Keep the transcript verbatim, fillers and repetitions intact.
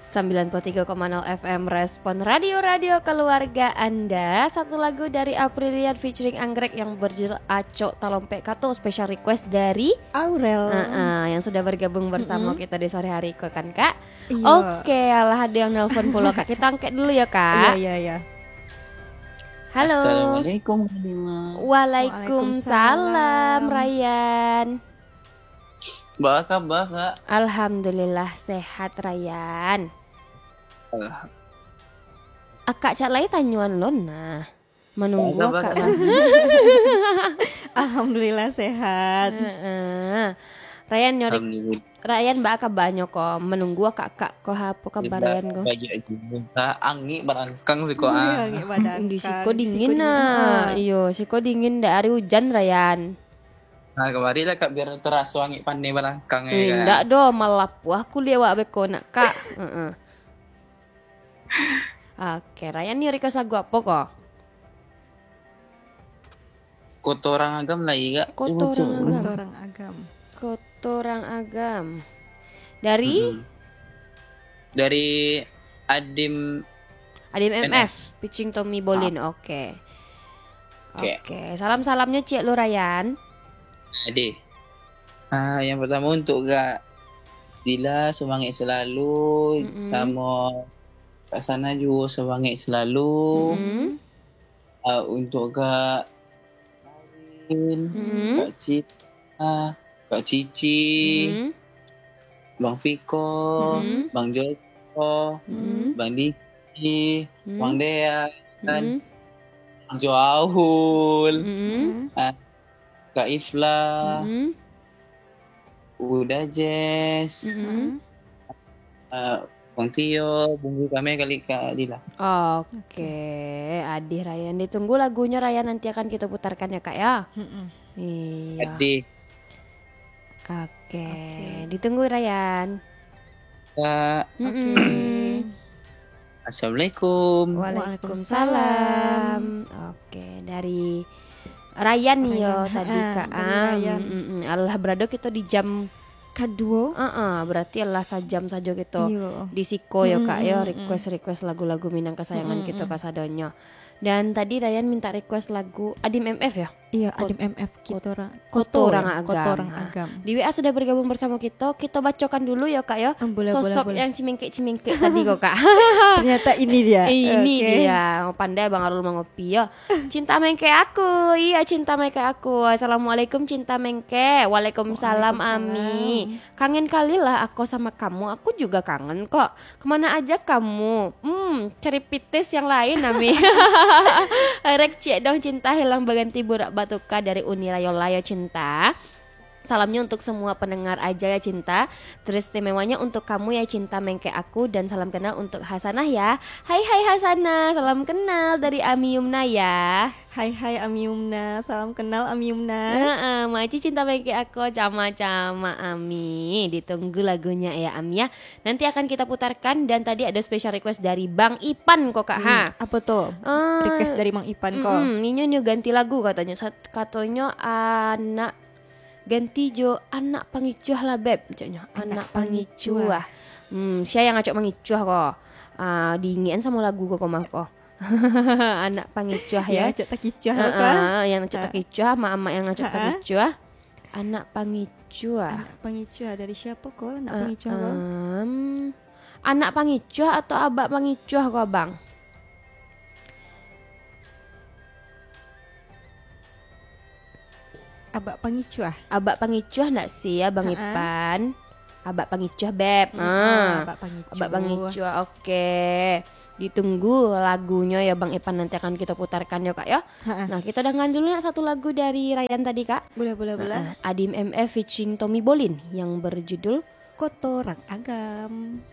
Sembilan puluh tiga koma nol F M Respon, radio-radio keluarga Anda. Satu lagu dari Aprilian featuring Anggrek yang berjudul Acok Talompek Kato, special request dari Aurel. Heeh, yang sudah bergabung bersama Mm-mm. kita di sore hari ko kan, Kak? Iya. Oke, alah ada yang nelpon pulo, Kak. Kita angkat dulu ya, Kak. Iya, iya, iya. Halo. Assalamualaikum, Halimah. Waalaikumsalam, Waalaikumsalam. Rayyan. Baa kaba, Kak? Alhamdulillah, sehat, Rayyan. Alah. Akak cak lai tanyoan lo nah. Manunggu Baa kaba, akak Kak? Alhamdulillah, sehat. Heeh. Rayyan nyo ri-, Alhamdulillah. Rayyan baa kabanyo ko? Manunggu akak-akak ko, apo kaba Ba-, Rayyan ko? Baik juo, Kak. Angik barangkang siko, Iya, ah. Angik barangkang. Di siko Di siko dingin, dingin, ah. ah. Iyo, siko dingin, ndak ari ujan, Rayyan. Nah, kamari lah, Kak, biar taraso angik paneh balangkang, ya, Kak? Indak doh, malapuah kuliah awak beko nak, Kak. Heeh. Oke, Rayyan ni request lagu apo ko? Koto Orang Agam lai, Kak. Koto Orang Agam. Koto Orang Agam. Koto Orang Agam. Dari? Mm-mm. Dari Adim Adim M F. M F, featuring Tommy Bolin. Ah. Oke. Oke. Oke, salam-salamnyo ciek lo, Rayyan. Ade. Ah, yang pertama untuk Kak Dila, semangat selalu, Mm-mm. samo Kak Sana juo semangat selalu. Mm-mm. Ah, untuk Kak Marin, Mm-mm. Kak Cita, Kak Cici, Mm-mm. Bang Fiko, Mm-mm. Bang Joko, Mm-mm. Bang Diki, Mm-mm. Bang Dean, Mm-mm. Bang Joaul, Mm-mm. ah, Kak Ifla, Mm-mm. Uda Jess, Mm-mm. ah, Bang Tio, Bunggu Kame kali Kak Dila. Oke, Oke. Adih Rayyan. Ditunggu lagunyo, Rayyan, nanti akan kita putarkan ya, Kak, ya. Mm-mm. Iya. Adih. Oke, Oke. ditunggu, Rayyan. Kak. Mm-mm. Oke. Assalamualaikum. Waalaikumsalam. Waalaikumsalam. Oke, dari Rayyan yo Rayyan. tadi, Ha, Kak. dari Am, Rayyan. mm, mm. Alah, berado kito di jam Kaduo. Heeh, berarti alah sajam sajo kito Iyo. di siko yo, Mm, Kak, yo, mm, mm. request-request lagu-lagu Minang kesayangan Mm, mm, kito mm. kasadonyo. Dan tadi Rayyan minta request lagu Adim M F yo? Iya, Kot-, Adim M F, Kot-, Koto Orang, Koto Koto Orang Agam. Koto Orang Ha. Agam. Di W A sudah bergabung bersama kito, kito bacokan dulu yo, Kak, yo. Ah, boleh, boleh, Sosok boleh. yang cimengkek-cimengkek tadi ko, Kak. Ternyata ini dia. Eh, ini Oke. dia. Pandai Bang Arul mangopi yo. Cinta mengkek aku. Iya, cinta mengkek aku. Assalamualaikum, cinta mengkek. Waalaikumsalam, Waalaikumsalam. Ami. Kangen kali lah ako sama kamu. Aku juga kangen kok. Kemana aja kamu? Hmm, cari pitis yang lain, Ami. Rek ciek dong cinta hilang baganti burak batuka dari Uni Rayola yo cinta. Salamnya untuk semua pendengar aja ya cinta. Teristimewanyo untuk kamu ya cinta mengkek aku dan salam kenal untuk Hasanah ya. Hai hai Hasanah, salam kenal dari Ami Yumna ya. Hai hai Ami Yumna, salam kenal Ami Yumna. Heeh, maci cinta mengkek aku cama-cama Ami. Ditunggu lagunya ya Ami ya. Nanti akan kita putarkan dan tadi ada special request dari Bang Ipan kok Kak ha. Hmm, apa tuh? Ah, Request dari Bang Ipan kok. Mm-mm, ninyo nyo ganti lagu katonyo. Sat-, katonyo anak Ganti jo Anak Pangicuah lah, Beb, caknyo. Anak Anak Pangicuah. Pangicuah. Hmm, sia yang acok mangicuah ko? Ah, diingekan samo lagu ko, ko mah ko. Anak Pangicuah, Ya, ya. acok takicuah Ah, ko, ah. ah, yang acok Ah. takicuah, amak-amak yang acok Ah, ah. takicuah. Anak Pangicuah. Anak Pangicuah dari siapa ko? Anak Ah, Pangicuah ko? em, Anak Pangicuah atau Abak Pangicuah ko, Abang? Abak Pangicuah. Abak Pangicuah ndak sih ya, Bang Ha-a. Ipan? Abak Pangicuah, Beb. Hmm, Ha. oh, Abak Pangicuah. Abak Pangicuah, oke. Ditunggu lagunyo ya, Bang Ipan, nanti akan kita putarkan yo, Kak, yo. Ha-a. Nah, kita dengarkan dulu nak satu lagu dari Rayyan tadi, Kak. Boleh, boleh, boleh. Ha-a. Adim M F featuring Tommy Bolin yang berjudul Koto Orang Agam.